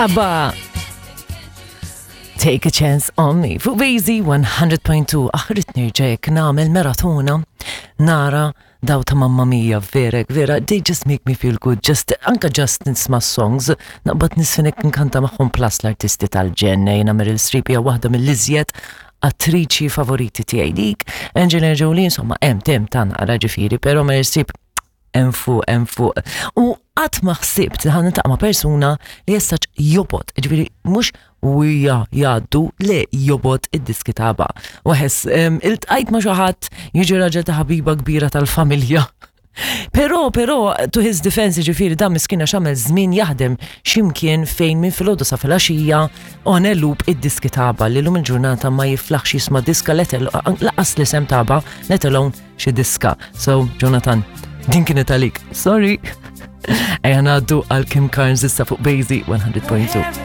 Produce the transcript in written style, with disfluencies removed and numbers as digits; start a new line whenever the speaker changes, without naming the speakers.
ABBA. Take a chance on me. Fuq Bazy 100.2 aħrit nirġek nagħmel maratona nara daw ta' Mamma Mia verek vera they just make me feel good just anka just nisma' songs naqbad nisfinek nkanta magħhom plus l-artisti tal-ġen jiena Meryl Streep hija waħda mill-iżjed attriċi favoriti tiegħi dik Angelina Jolie insomma hemm tem ta' naqra ġifieri però Meryl Streep hemm fuq hemm fuq. U qatt ma ħsibt li ħan ma' persuna li jessaċ jobot, ġifieri mhux wija jgħaddu le jobot id-diski taba. Waħes iltqajt ma' xi ħadd jiġi raġel ta' ħabiba kbira tal-familja. Però, però, to his defense, ġifiri, dan miskina xamel żmien jaħdem ximkien fejn minn filgħodu sa filgħaxija on a loop id-diski taba li lum il-ġurnata ma jiflaħx jisma' diska laqas l-isem taba, let alone xi diska. So, Jonathan, din kienet għalik. Sorry. Ejja ngħaddu għal Kim Carnes issa fuq Bazy 100.2.